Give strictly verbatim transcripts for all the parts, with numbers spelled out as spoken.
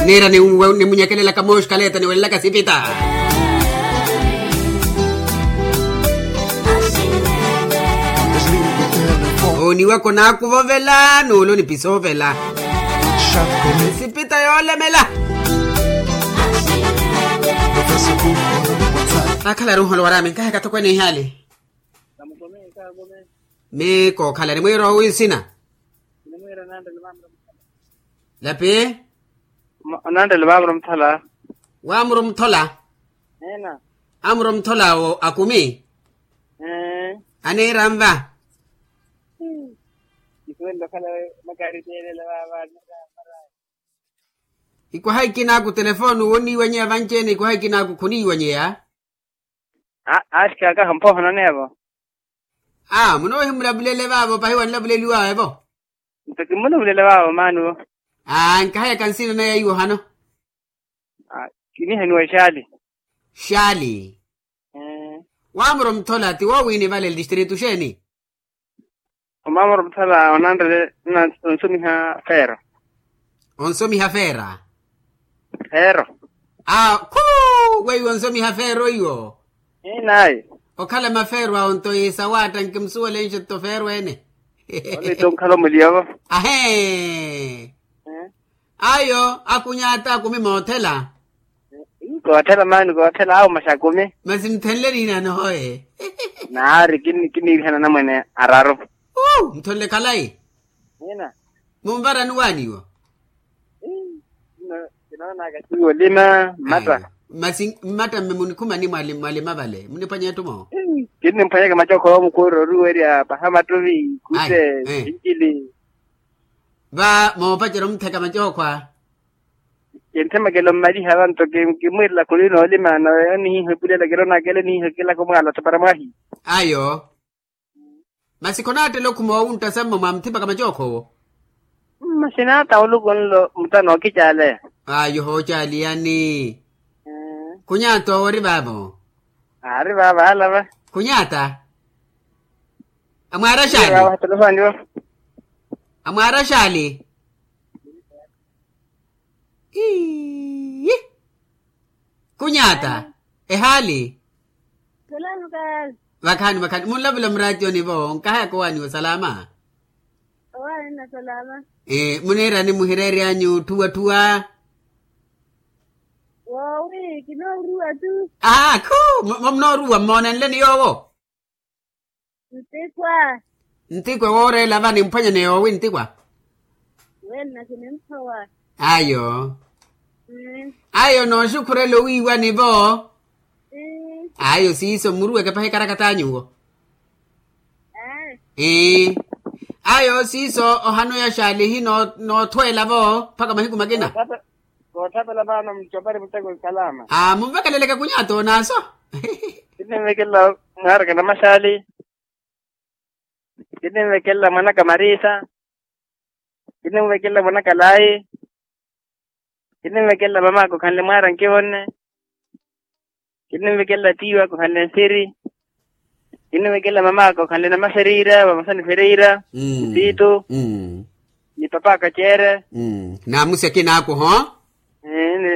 Niira nimunyekelelaka mooxkaleta niwelelaka sipita. Oniwaka onaakuva ovela nuula onipisa ovela. Sipita yoolemela. Akhala ari onholo waraami nkaheka tokweene ihaali. Mii kookhala nimwiira owi nsina. Lapi. Onanttela vaavira omuthola. Waamura omuthola. Amura omuthola awo akumi. Aniira nva. Ikwaha ikinaaku telefoni wonniiwanyeya vanci-ene ikwaha ikinaaku khuniiwanyeya. Aatthikaaka hampoohonone evo. Aa munoohimulavulela evaavo pahi wanlavuleliwaawe evo. Nto kimulavulela evaavo maani vo. Aa nkahayaka nsina naya iwo hano. Kinihaniwa xaali. Xaali. Waamura omuthola ti woowiini vale listritu xeeni? Omaamura omuthola onanrele. Onsomiha feero. Onsomiha feera. Feero. Aa khuu weiwo onsomiha feero iwo. Inayi. Okhala mafeero awo nto yi sawaatta nkimusuwelenxe tto feero ene. Ole tto nkhala omuliya vo. Ahee. Ayo akunyaata akumi moothela. Koothela maani koothela awo masi akumi. Masi muthenle niina nohoye. Naari kiniirihana anamwene araru. Muthenle khalayi. Munvarani waaniwa. Kinoonaka siwi olima mmata. Masi mmata mme munikhumani mwalima vale muniphwanya etthu mo. Kinnimphwanyaka macookho omukuura oruwerya paha mattuvi kute. Sincili. Va moopacerya omutheka macookho a. Kintthemekela ommaliha vanto kimwiirela khuli noolima nawe onihiiha epulela kiroonaka ele onihiiha ekelaka omwaala thapara mwahi. Ayo. Masi khonaattela okhuma owuntta sammo mwamuthipaka macookho owo. Masi naata oluku nlo muta nookicaaleya. Ayo hoocaaliyani. Khunyaata owo ori vaavo. Aari vaavo alava. Khunyaata. Amwaara xaali. Amwaara xaali. Iiyi. Khunyaata. Ehaali. Vakhaani vakhaani munlavula muraatiyoni vo nkahayaka owaaniwa salama. Muniirani muhireeryanyu tthuwa tthuwa. Woowi kinooruwa tu. Aakhu. Munooruwa mmoonenleni yoowo. Ntikwa. Ntikwa wooreela va nimphwanyane yoowi ntikwa. Wenna kinimphowa. Ayo. Ayo nooxukhurela owiiwani vo. Ayo siiso mmuruweke pahi ekarakat'anyu wo. Ii. Ayo siiso ohano ya xaalihi noothweela vo mpakha mahiku makina. Koothapela vaano mucopari muteko nsalama. Munvekeleleke kunyaato onaaso. Kininvekelela mwaaraka namaxaali. Kininvekelela mwanaka marisa. Kininvekelela mwanaka layi. Kininvekelela mamaka okhanle mwaara nkivonne. Kininvekelela tiiwaka okhanle nsiri. Kininvekelela mamaka okhanle namafereira vamasani fereira. Ntiitu. Ni papaka ceere. Naamusi akinaaku ho.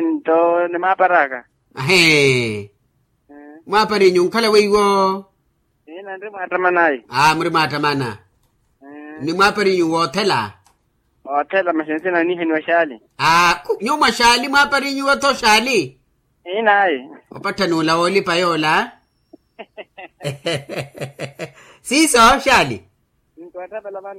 Nto ni maaparaka. Ahee. Mwaaparinyu nkhala weiwo. Ina nri mwaattamanayi. Aa muri mwaattamana. Ni mwaaparinyu woothela. Oothela masi nsina niiheniwa xaali. Aa nyuwo mwa xaali mwaaparinyu wotho xaali. Inayi. Opattha nuula woolipa yoola. Siiso xaali. Nto attapela vano.